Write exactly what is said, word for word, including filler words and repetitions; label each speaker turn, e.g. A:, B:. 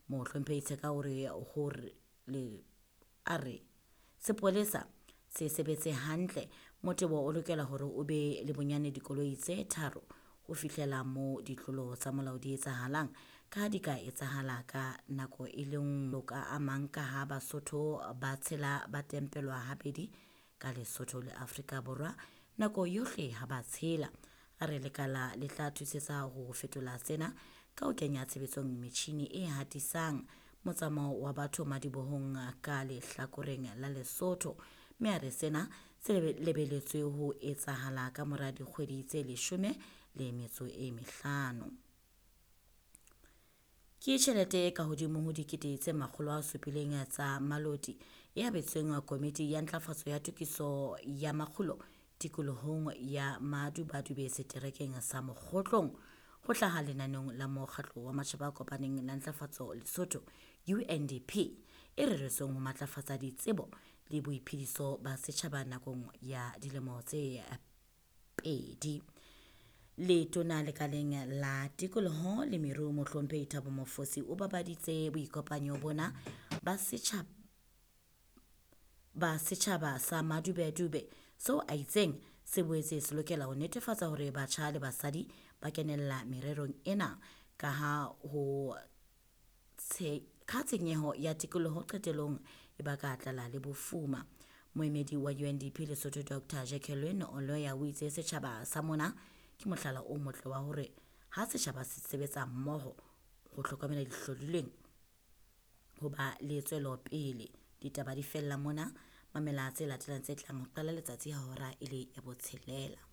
A: Mohlomphehi Tsheka o re hore le a re sepolesa se sebetse hantle. Motebo o lokela hore o be le bonyane dikoloi tse tharo ho fihlela moo ditlolo tsa molao di etsahalang, ka ha di ka etsahala ka nako e le nngwe ka a mang, ka ha Basotho ba tshela ba tempelwa habedi ka Lesotho le Afrika Borwa nako yohle ha ba tshela. A re lekala le tla thusetsa ho fetola sena ka ho kenya tshebetsong metjhini e hatisang motsamao wa batho madibohong ka lehlakoreng la Lesotho, mme a re sena se lebeletswe ho etsahala ka mora dikgwedi tse leshome le metso e mehlano. Ke tjhelete e kahodimo ho dikete tse makgolo a supileng tsa Maloti e abetsweng Komiti ya Ntlafatso ya Tokiso ya Makgulo tikolohong ya Madubadube seterekeng sa Mokhotlong ho hlaha lenaneong la Mokgatlo wa Matjhaba a Kopaneng la Ntlafatso Lesotho U N D P e reretsweng ho matlafatsa ditsebo le boiphediso ba setjhaba nakong ya dilemo tse pedi. Letona lekaleng la tikoloho le meruo Mohlomphehi Thabo Mofosi o babaditse boikopanyo bona ba setjhaba ba setjhaba sa Madubedube seo a itseng se boetse se lokela ho netefatsa hore batjha le basadi ba kenella mererong ena ka ha ho ka tshenyeho ya tikoloho qetellong e baka tlala le bofuma. Moemedi wa U N D P Lesotho Doctor Jacqueline Oloya o itse setjhaba sa mona ke mohlala o motle wa hore ha setjhaba se sebetsa mmoho ho hlokomela dihlodilweng ho ba le tswelopele. Ditaba di fella mona, mamela tse latelang tse tlang ho qala letsatsi ha hora e le ya botshelela.